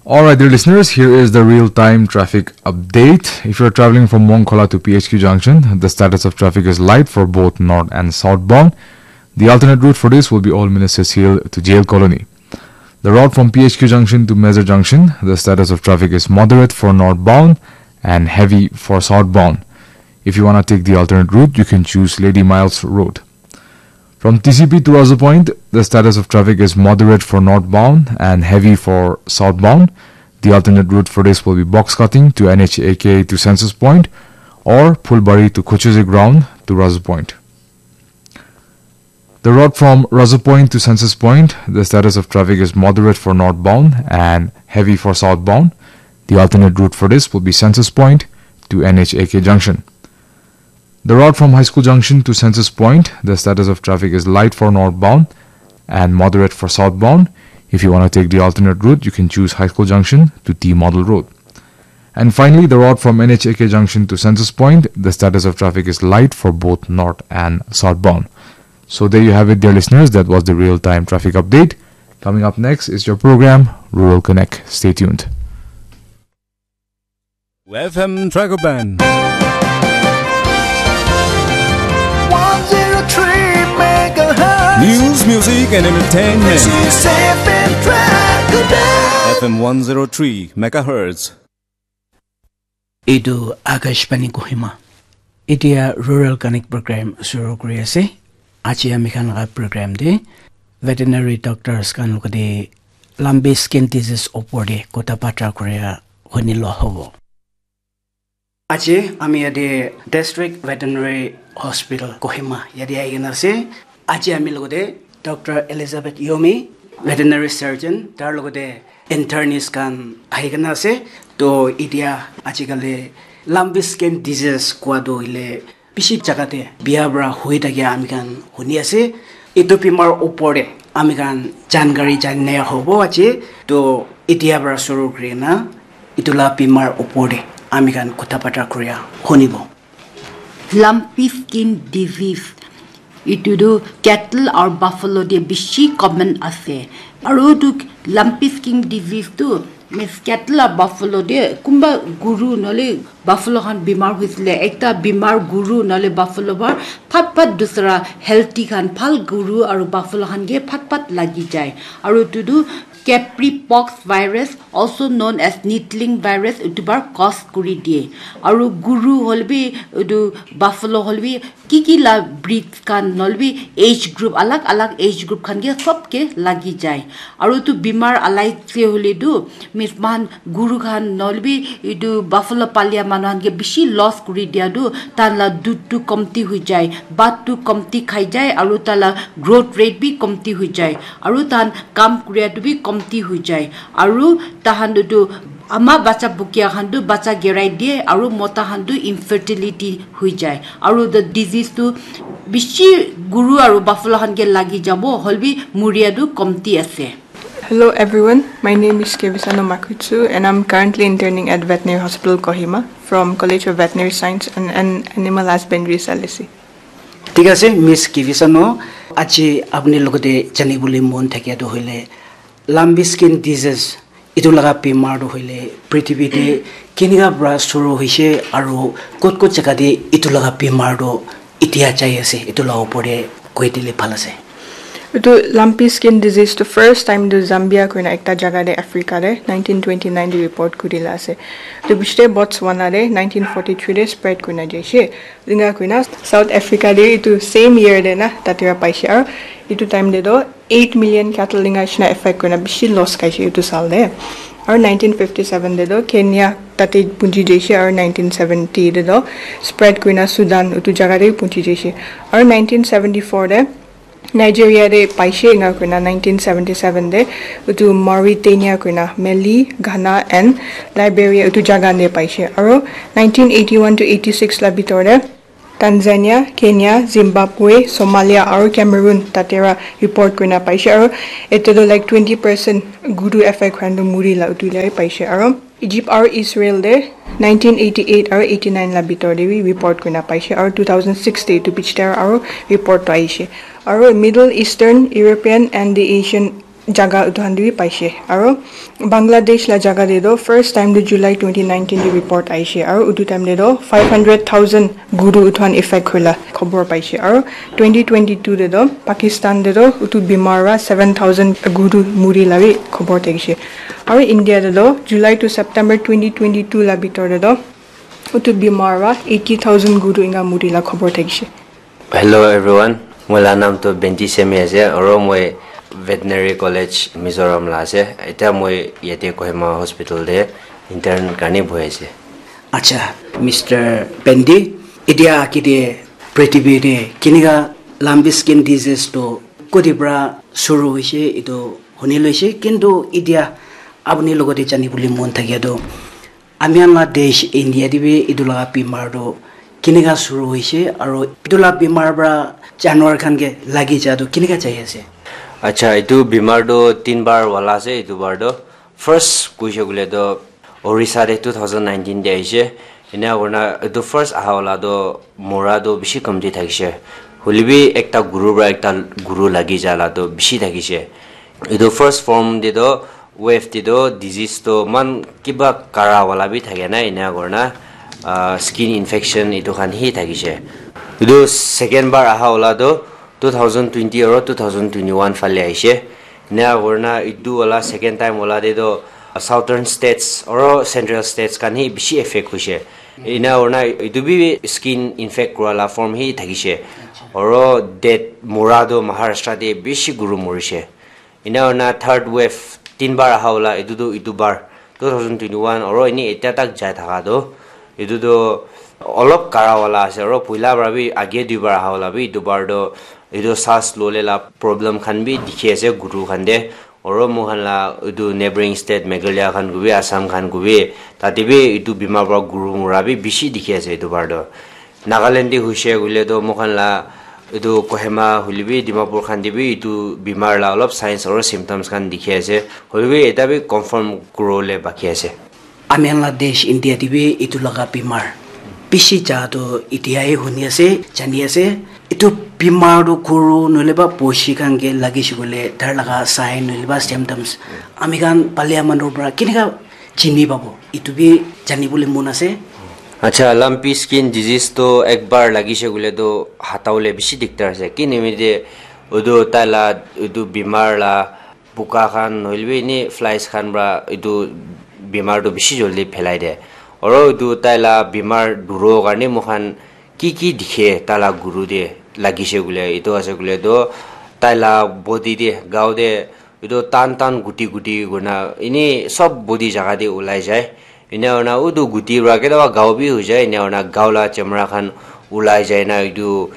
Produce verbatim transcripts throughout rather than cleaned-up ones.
All right, dear listeners, here is the real-time traffic update. If you're traveling from Mongkhola to P H Q Junction, the status of traffic is light for both north and southbound. The alternate route for this will be Old Ministers Hill to Jail Colony. The route from P H Q Junction to Meza Junction, the status of traffic is moderate for northbound and heavy for southbound. If you want to take the alternate route, you can choose Lady Miles Road. From T C P to Razu Point, the status of traffic is moderate for northbound and heavy for southbound. The alternate route for this will be box cutting to N H A K to Census Point or Phulbari to Kuchuzi Ground to Razu Point. The road from Razu Point to Census Point, the status of traffic is moderate for northbound and heavy for southbound. The alternate route for this will be Census Point to N H A K Junction. The route from High School Junction to Census Point, the status of traffic is light for northbound and moderate for southbound. If you want to take the alternate route, you can choose High School Junction to T Model Road. And finally, the route from N H A K Junction to Census Point, the status of traffic is light for both north and southbound. So there you have it, dear listeners. That was the real-time traffic update. Coming up next is your program, Rural Connect. Stay tuned. F M Dragon Band. One zero three megahertz. News, music, and entertainment. This is F M Dragon Band. F M one zero three megahertz. Etu Akashvani Kohima. Etia Rural Connect program shuru kuri ase. Aji ami khan laga program te veterinary doctors khan logote lambi skin disease opor te kotha batra kuria huni lo hobo. Aji ami yate District Veterinary Hospital Kohima yate ahi kena ase. Aji ami logote Doctor Elizabeth Yomi, veterinary surgeon, tar logote internist khan ahi kena ase. To etia ajikali lambi skin disease kua to hoile bishi jaga te bia para hoi thakia ami khan huni ase. Etu bimar opor te ami khan jankari jani hobo aji. To etia para shuru kuri na etu la bimar opor te ami khan kotha batra kuria hunibo. Lumpy skin disease. Etu tu cattle aru buffalo te bishi common ase. Aru tu lumpy skin disease tu means cattle aru buffalo te kunba guru nale buffalo khan bimar hoisile, ekta bimar guru nale buffalo para phat phat dusra healthy khan bhal guru aru buffalo khan ke phat phat lagi jai. Aru etu tu Capri pox virus, also known as needling virus, etu para cause kuri diye. Aru guru hoile bi, etu buffalo hoile bi, ki ki la breed khan, nohoile bi age group, alag alag age group khan ke sob ke lagi jai. Aru etu bimar alai se hoile tu, means moikhan guru khan, nohoile bi etu buffalo palia manu khan ke bishi loss kuri dia tu, tai la dudh tu komti hoi jai, bhat tu komti khai jai, aru tai la growth rate bi komti hoi jai. Aru tahan kam kuria tu bi komti hoi jai. Aru tahan tu ama bacha bukia khan tu bacha gerai diye, aru mota khan tu infertility hoi jai. Aru the disease tu bishi guru aru buffalo khan ke lagi jabo, hoilebi muria tu komti ase. Hello everyone, my name is Kevisano Makutsu and I'm currently interning at Veterinary Hospital Kohima from College of Veterinary Science and, and Animal Husbandry, Salesi. Thik ase, Miss Kivisano, aji apni logote janibole mon thakia tu hoile, lambi skin disease, etu laga bimar tu hoile, prithibi te kenika para shuru hoise aru kot kot jaga te etu laga bimar tu etia jai ase, etu laga opor te koi dile bhal ase. Etu lumpy skin disease tu first time tu Zambia koina ekta jaga te Africa te nineteen twenty-nine te report kuri la ase. Etu piche te Botswana te nineteen forty-three te spread kurina jaise. Enka kurina South Africa te etu same year te na tate para paise aru etu time te toh eight million cattle enka nishina affect kurina bishi loss khaise etu saal te. Aru nineteen fifty-seven te toh Kenya tate punji jaise aru nineteen seventy te toh spread kurina Sudan etu jaga te punji jaise. Aru nineteen seventy-four te Nigeria te paise enka kurina nineteen seventy-seven te etu Mauritania kurina Mali, Ghana and Liberia etu jaga te paise. Aru nineteen eighty-one to eighty-six la bitor te Tanzania, Kenya, Zimbabwe, Somalia aru Cameroon tate para report kurina paise. Aru ete toh like twenty percent guru affect khan toh muri la etu la paise. Aru Egypt aru Israel te nineteen eighty-eight aru eighty-nine la bitor te bi report kurina paise aru two thousand six te etu bichi te aru report toh ahishe. Aru Middle Eastern, European and the Asian jaga utu khan te bi paishe. Aro Bangladesh la jaga te toh first time toh July twenty nineteen te report aishe. Aro utu time te toh five hundred thousand guru utu khan effect hoila khobor paishe. Aro twenty twenty-two te toh Pakistan te toh utu bimar para seven thousand guru muri la bi khobor thakishe. Aro India te toh July to September twenty twenty-two la bitor te toh utu bimar para eighty thousand guru inga muri la khobor thakishe. Hello everyone, moi la naam toh Benti Semi ase, aro moi Veterinary College Mizoram la ase. Etia moi yate Kohima Hospital te intern karne bohi ase. Acha, Mister Benti, etia age te prithibi te kenika lambiskin disease to koti para shuru hoise, etu huni loise, kintu etia apuni logote jani bole mon thakia to ami khan la desh India te bi etu laga bimar to kenika shuru hoise, aro etu la bimar para janwar khan ke lagi ja to kenika jai ase? Acha, etu bimar toh tin bar wala ase. Etu bar toh first koise koile toh Orissa te two thousand nineteen te aise. Ena kurina etu first aha wala toh mura toh bishi kamti thakishe. Hoilebi ekta guru para ekta guru lagi ja la toh bishi thakishe. Etu first form te toh wave te toh disease toh man kiba kara wala bi thake na, ena kurina ah, skin infection etu khan hi thakishe. Etu second bar aha wala toh two thousand twenty aro two thousand twenty-one phale aishe. Ena kurina etu wala second time wala te toh southern states aro central states khan hi bishi effect hoishe. Ena kurina etu bi skin infect kura la form hi thakishe. Aro death mura toh Maharashtra te bishi guru murishe. Ena kurina third wave tin bar aha wala etu toh etu bar two thousand twenty-one aro eni etia tak jai thaka toh etu toh olop kara wala ase, aro puila para bi age duibar aha wala bi etu bar toh etu saas lole la problem khan bi dikhi ase guru khan te, aro moikhan la etu neighbouring state Meghalaya khan kubi Assam khan kubi tate bi etu bimar para guru mura bi bishi dikhi ase etu bar toh. Nagaland te hoishe koile toh moikhan la etu Kohima hoilebi Dimapur khan te bi etu bimar la olop signs aro symptoms khan dikhi ase, hoilebi eta bi confirm kuribole baki ase. Ami khan la desh India te bi etu laga bimar bishi ja toh etia he huni ase, jani ase. Etu bimar toh guru nohoile ba boshi khan ke lagise koile tar laga sign nohoile ba symptoms ami khan palia manu para kenika chini pabo, etu bi jani bole mon ase. Acha, lumpy skin disease toh ekbar lagise koile toh hata bole bishi diktar ase. Ki nimite etu tai la etu bimar la buka khan nohoilebi eni flies khan para etu bimar toh bishi jaldi phelai de. Aro etu tai la bimar duro karne moikhan ki ki dikhe tai la guru te lagise koile, etu ase koile toh tai la body te, gao te etu tan tan guti guti kurina eni sob body jaga te ulai jai. Ena kurina utu guti para ketia ba gao bi hoi jai, ena kurina gao la chamra khan ulai jai na etu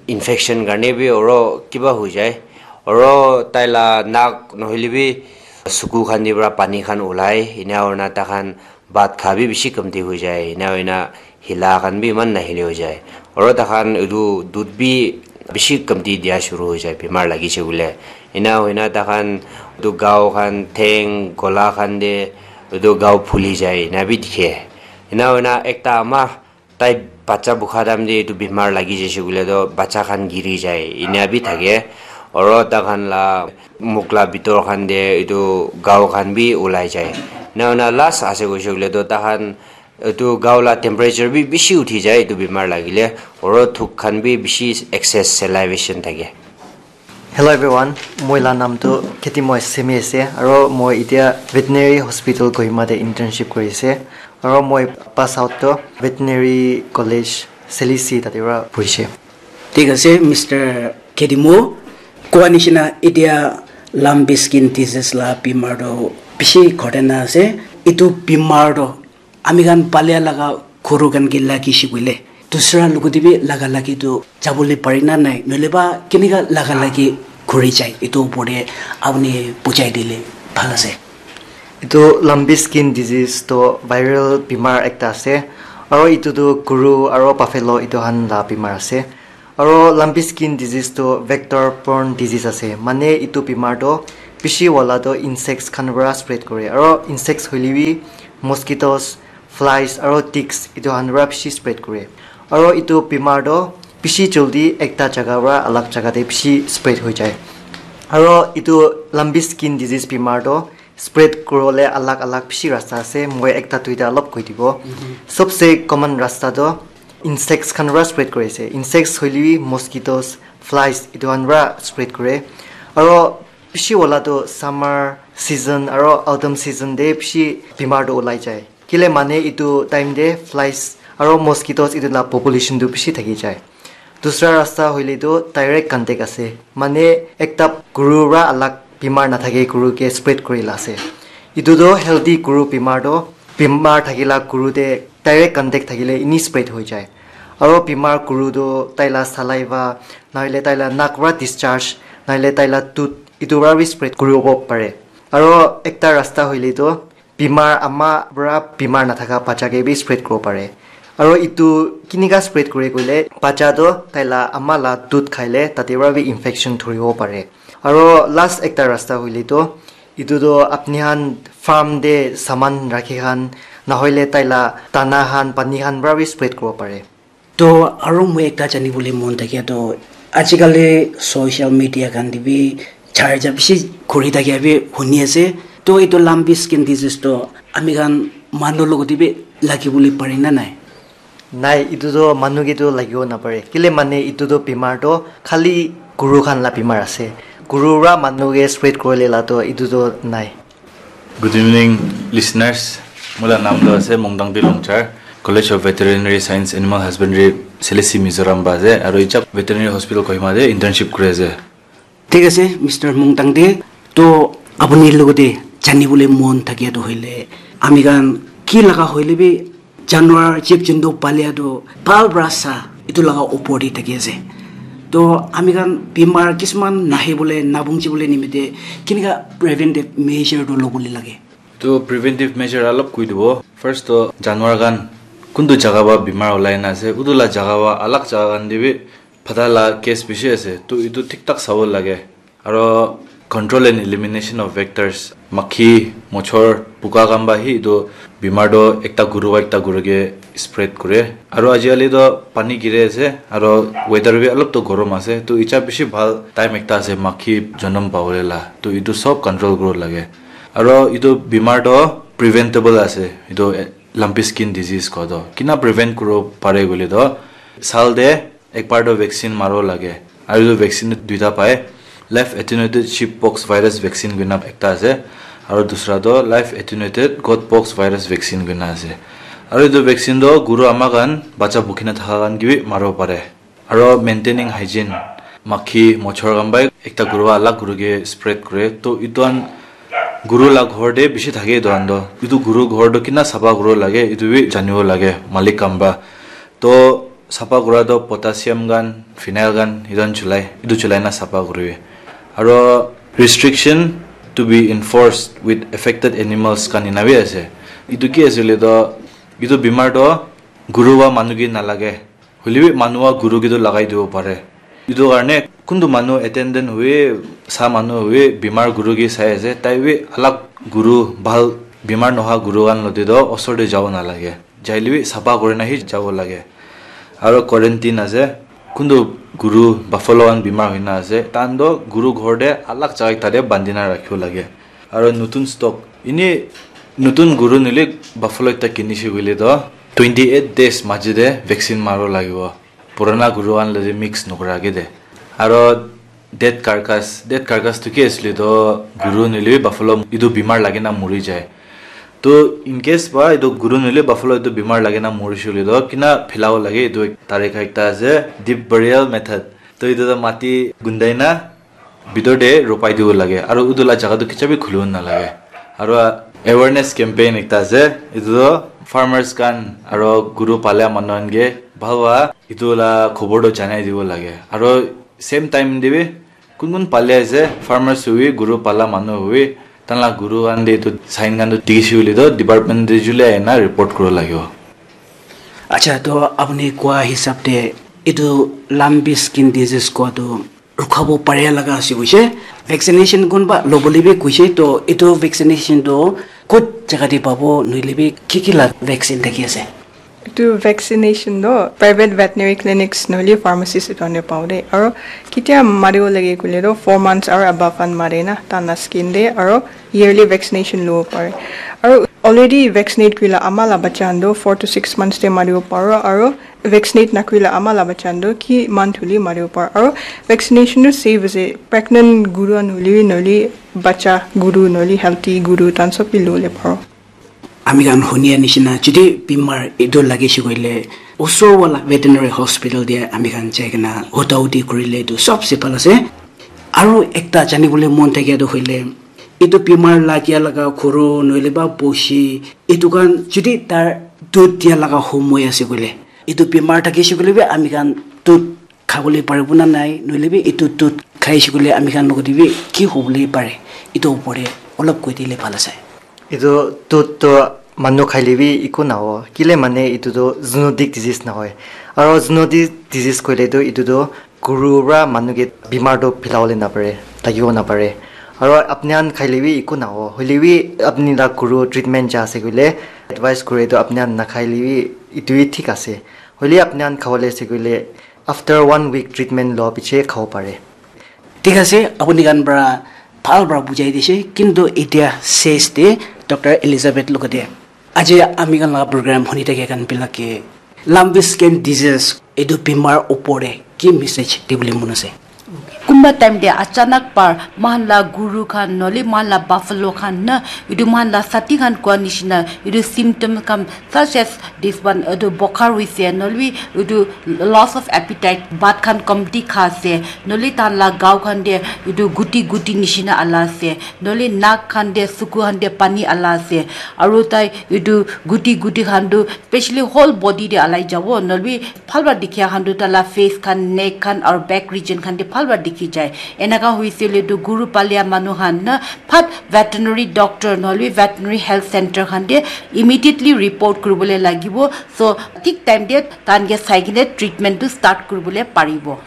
infection karne bi aro kiba hoi jai. Aro tai la nak nohoilebi suku khan te para pani khan ulai, ena kurina tai khan bhat kha bi bishi kamti hoi jai, ena hoina hila khan bi eman nahili hoi jai. Aro tai khan etu dudh bi bishi kamti dia shuru hoi jai bimar lagise koile. Ena hoina tai khan etu gao khan, theng, gola khan te etu gao phuli jai ena bi dikhe. Ena hoina ekta ama tai bacha bukha time te etu bimar lagi jaise koile toh bacha khan giri jai ena bi thake. Aro tai khan la mukh la bitor khan te etu gao khan bi ulai jai. Ena hoina last ase koise koile toh tai khan etu gao la temperature bi bishi uthi jai etu bimar lagile, aro thuk khan bi bishi excess salivation thake. Hello everyone, moi la naam tu Ketimoy Semi ase, aro moi etia Veterinary Hospital Kohima te internship kuri ase, aro moi pass out to Veterinary College Selisi tate para puri ase. Thik ase, Mister Ketimo, koa nishina etia lumpy skin disease la bimar tu bishi khatarnak ase. Etu bimar tu ami khan palia laga guru khan ke lagise koile dusra logot te bi laga lagi tu jabole pare na nai, nohoile ba kenika laga lagi kuri jai, etu upor te apuni bujai dile bhal ase. Etu lumpy skin disease toh viral bimar ekta ase, aro etu tu guru aro buffalo etu khan la bimar ase. Aro lumpy skin disease tu vector borne disease ase, mane etu bimar tu bishi wala tu insects khan para spread kore, aro insects hoile bi mosquitoes, flies aro ticks etu khan para bishi spread kore, aro etu bimar tu bishi jaldi ekta jaga para alak jaga te bishi spread hoi jai. Aro etu lumpy skin disease bimar toh spread kuribole alak alak bishi rasta ase. Moi ekta duita olop koi dibo. Sobse common rasta toh insects khan para spread kuri ase. Insects hoile bi mosquitoes, flies etu khan para spread kure. Aro bishi wala toh summer season aro autumn season te bishi bimar toh ulai jai. Kile mane etu time te flies aro mosquitoes etu la population tu bishi thaki jai. Dusra rasta hoile tu direct contact ase. Mane ekta guru para alak bimar nathake guru ke spread kuri la ase. Etu tu healthy guru bimar tu bimar thakila guru te direct contact thakile ini spread hoi jai. Aro bimar guru tu taila saliva, nahoile taila nak para discharge, nahoile taila tooth, etu para bi spread kuribo pare. Aro ekta rasta hoile tu bimar ama para bimar nathaka bacha ke bi spread kuribo pare. Aro etu kinika spread kure koile bacha toh taila ama la dudh khaile tate para bi infection dhuribo pare. Aro last ekta rasta hoile toh etu toh apni khan farm te saman rakhi khan nahoile taila dana khan pani khan para bi spread kuribo pare. To aro moi ekta janibole mon thakia to ajikali social media khan te bi charja bishi khuri thakia bi huni ase. To etu lumpy skin disease to ami khan manu logote bi lagibole pare na nai? Nai, etu to manu ke to lagibo napare. Kile mane etu to bimar to khali guru khan la bimar ase. Guru para manu ke spread kurile la to etu to nai. Good evening, listeners. Mola naam to ase Mongdangdi Longchar, College of Veterinary Science, Animal Husbandry, Selesi, Mizoram ba ase, aru ichap Veterinary Hospital Kohima de internship kuri ase. Thik ase, Mister Mongdangdi, to apuni logote janibole mon thakia to hoile, ami khan ki laga hoile bi Januar jeep juntu palia tu bhal para sa etu laga opor te thaki ase. To ami khan bimar kisman nahi bole nabung ji bole nimite kinika preventive measure tu lobole lage? To preventive measure alop koi dibo. First to januar khan kuntu jaga ba bimar olai na ase, utu la jaga ba alag jaga khan te bi phata la case bishi ase. To etu thik thak sabo lage. Aro control and elimination of vectors, makhi, mochor, puka khan ba hi etu bimar toh ekta guru ba ekta guru ke spread kure. Aro ajikali toh pani giri ase, aro weather bi olop toh gorom ase. Toh icha bishi bhal time ekta ase makhi jonom pabole la. Toh etu sob control kuribo lage. Aro etu bimar toh preventable ase. Etu, eh, lumpy skin disease koa toh. Kina prevent kuribo pare koile toh, sal te ekbar toh vaccine maribo lage. Aru etu vaccine toh duita pai. Live attenuated sheep pox virus vaccine koina ekta ase. Aru dusra toh live attenuated goat pox virus vaccine koina ase. Aru etu vaccine toh guru ama khan, bacha bukhi na thaka khan ke bi maribo pare. Aru maintaining hygiene, makhi, mochor khan pai ekta guru para alag guru ke spread kure. Toh etu khan guru la ghor te bishi thake etu khan toh. Etu guru ghor toh kina sapha kuribo lage, etu bi janibo lage, malik khan para. Toh sapha kura toh potassium khan, phenyl khan, etu khan chulai, etu chulai na sapha kuribi. Aro restriction to be enforced with affected animals khan ena bi ase. Etu ki ase koile toh, etu bimar toh guru ba manu ke nalage. Hoile bi manu ba guru ke toh lagai dibo pare. Etu karne kuntu manu attendant hobi, sa manu hobi, bimar guru ke sai ase, tai bi alag guru, bhal bimar nohoa guru khan lote toh osor te jabo nalage. Jaile bi sapha kurina hi jabo lage. Aro quarantine ase. Kuntu guru buffalo khan bimar hoina ase, tahan toh guru ghor te alag jaga ekta te bandina rakhibo lage. Aro notun stock, ini notun guru nohoile buffalo ekta kinishe koile toh twenty eight days maji te vaccine maribo lagibo. Purana guru khan lote mix nokura ke de. Aro dead carcass, dead carcass tu ki asile toh guru nohoile bi buffalo etu bimar lagi na mori jai. To in case ba etu guru nohoile buffalo etu bimar lagi na morishe koile toh kina philabo lage, etu ek tarika ekta ase, deep burial method. To etu toh mati gundai na bitor te ropai dibo lage, aro utu la jaga toh kicha bi khulibo nalage. Aro awareness campaign ekta ase, etu toh farmers khan aro guru pala manu khan ke bhal ba etu la khobor toh janai dibo lage. Aro same time te bi kun kun pali ase, farmers hobi, guru pala manu hobi, tahan la guru khan te etu sign khan toh dikhi se koile toh department te jule ahina report kuribo lagibo. Acha, toh apuni koa hisab te etu lumpy skin disease koa toh rukhabo paria laga ase koise. Vaccination kunba lobole bi koise, toh etu vaccination toh kot jaga te pabo, nohoile bi ki ki la vaccine thaki ase? Etu vaccination toh private veterinary clinics nohole pharmacies etu khan te pabo de. Aro ketia maribo lage koile toh four months aro above khan mare na, tai la skin te, aro yearly vaccination lobo pare. Aro already vaccinate kurila ama la bacha khan toh four to six months te maribo paro, aro vaccinate nakurila ama la bacha khan toh ki month hole maribo paro. Aro vaccination toh safe ase, pregnant guru khan hole bi, nohole bacha guru, nohole healthy guru, tai khan sob bi lobole paro. Ami khan hunia nishina, jodi bimar etu lagise koile, osor wala veterinary hospital te ami khan jai kena huta huti kurile etu sobse bhal ase. Aro ekta janibole mon thakia toh hoile, etu bimar lagia laga guru nohole ba boshi, etu khan jodi tar dud dia laga homoi ase koile, etu bimar thakise koile bi ami khan dud khabole paribo na nai, nohole bi etu dud khaise koile ami khan logot te bi ki hobole pare, etu opor te olop koi dile bhal ase. Etu dud toh manu khaile bi eku naho, kile mane etu toh zoonotic disease nahoi. Aro zoonotic disease koile toh etu toh guru pra manu ke bimar toh philabole napare, thakibo napare. Aro apni khan khaile bi eku naho, hoile bi apni la guru treatment ja ase koile advice kure toh apni khan nakhaile bi etu bi thik ase. Hoile apni khan khabole ase koile after one week treatment loa piche khabo pare. Thik ase, apuni khan pra bhal pra bujai dise, kintu etia ses te Doctor Elizabeth logote aji ami khan laga program huni thakia khan bilak ke lumpy skin disease etu bimar opor te ki message dibole mon ase? Kumba time te achanak par moikhan la guru khan nohole moikhan la buffalo khan na, etu moikhan la sati khan koa nishina etu symptom khan such as this one, etu bokhar hoise, nohole bi etu loss of appetite, bhat khan komti kha ase, nohole tahan la gao khan te etu guti guti nishina ala ase, nohole nak khan te suku khan te pani ala ase, aru tai etu guti guti khan tu specially whole body te alai jabo, nohole bi bhal para dikhia khan tu taila face khan, neck khan aru back region khan te bhal para dikhi jai. Enaka hoise le tu guru palia manu khan na phat veterinary doctor nohole veterinary health center khan te immediately report kuribole lagibo. So thik time te tahan ke sai kine treatment tu start kuribole paribo.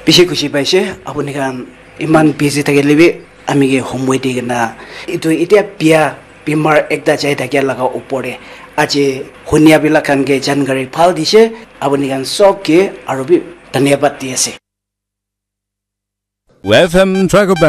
Bishi khushi paise apuni khan iman busy thakile bi ami ke homoi di kena etu etia bia bimar ekta jai thakia laga opor te aji hunia bila khan ke jankari bhal dise, apuni khan sob ke aru bi dhanyabad di ase. F M Dragon